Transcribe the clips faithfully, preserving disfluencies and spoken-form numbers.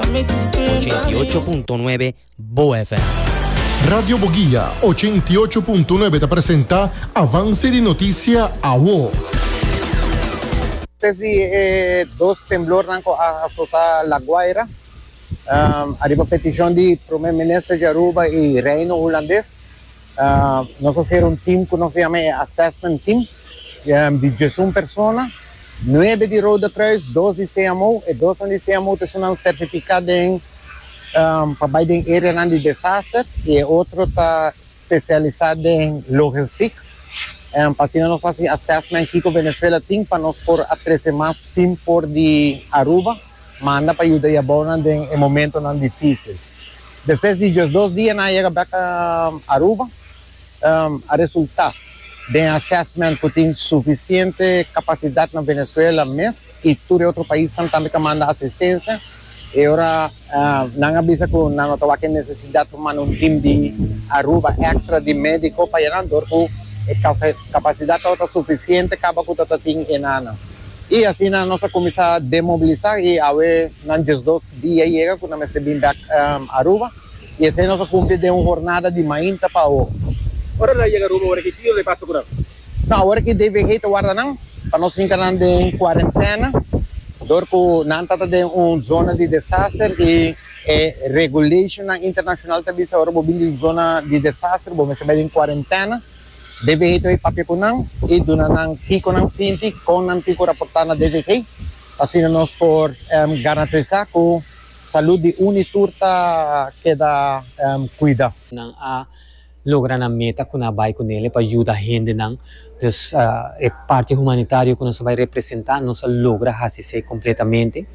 ochenta i ocho punto nuebe Bo F M. Radio Bo Guia ochenta i ocho punto nuebe ta presenta Avance di Noticia Awo. Desde eh, dos temblor cu a azota La Guaira, um, ariba peticion di Prome Minister di Aruba y Reino Hulandes, uh, nos a haci un team cu nos yama Assessment Team, um, di diesun persona, nuebe di Rode Kruis, dos di C M O, y dos di C M O ta certifica den um, pa den area di desaster, y otro ta specialisa den logistica. Um, pa asina nos haci assessment kico Venezuela tin pa nos por trece mas team for di Aruba, manda pa yuda e den momentonan dificil. Despues di dos dia nan a yega back um, Aruba, um, a resulta den assessment cu tin suficiente capacidad na Venezuela mes y tur otro pais tambe cu manda asistencia. Y awor uh, nan a bisa cu nan no tin necesidad pa manda un team di Aruba extra di medico pa ey, cu capacidad ta suficiente caba cu tin einan. Y asina nos a cuminsa demobilisa y awe nan dos dia a yega cu nos bin back um, Aruba y asina nos a cumpli den un jornada di mainta pa awe. Ora nan yega Aruba, awor kico ta pasa cu nan? No, awor cu D V G ta warda nan, pa nos hinca nan den cuarentena, dor cu nan ta den un zona di desaster y e regulation internacional tambe ta ora bo bin den zona di desaster, bo mester den cuarentena. D V G ta papia cu nan y duna nan kico nan sinti, con nan tin cu raporta na D V G. Asina nos por um, garantisa cu salud di un tur ta keda um, cuida. Nan a logra nan meta cu nan a bay cune pa yuda hendenan. Dus uh, e parti humanitario cu nos ta bay representa, nos a logra haci completamente.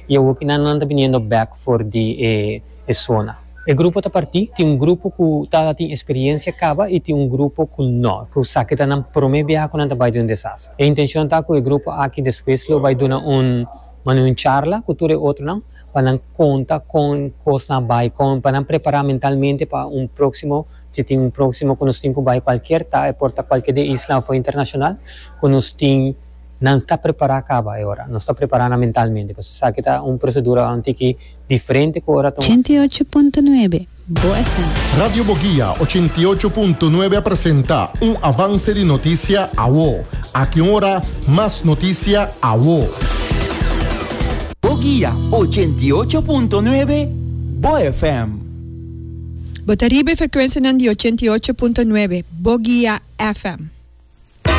Y awor cu nan ta biniendo back for di eh, e zona. E grupo ta parti, tin un grupo cu ta tin experiencia caba y tin un grupo cu no, cu sa cu ta nan prome biaha cu nan ta bay den un desaster. E intencion ta cu e grupo aki despues lo bay duna un un charla cu tur otronan, pa nan conta con cos a bay, con pa nan prepara mentalmente pa un proximo, si tin un proximo cu nos tin cu bay cualkier ta, por ta cualkier di isla of internacional, cu nos tin nan ta prepara caba awor, nos ta prepara mentalmente, pasobra sabi cu ta un procedura un tiki diferente cu ora ochenta i ocho punto nuebe Bo F M. Radio Bo Guia ochenta i ocho punto nuebe presenta un Avance di Noticia Awo. Aki ora, mas noticia Awo. Bo Guia ochenta i ocho punto nuebe Bo F M. Bo ta riba frecuencia di ochenta i ocho punto nuebe Bo Guia F M.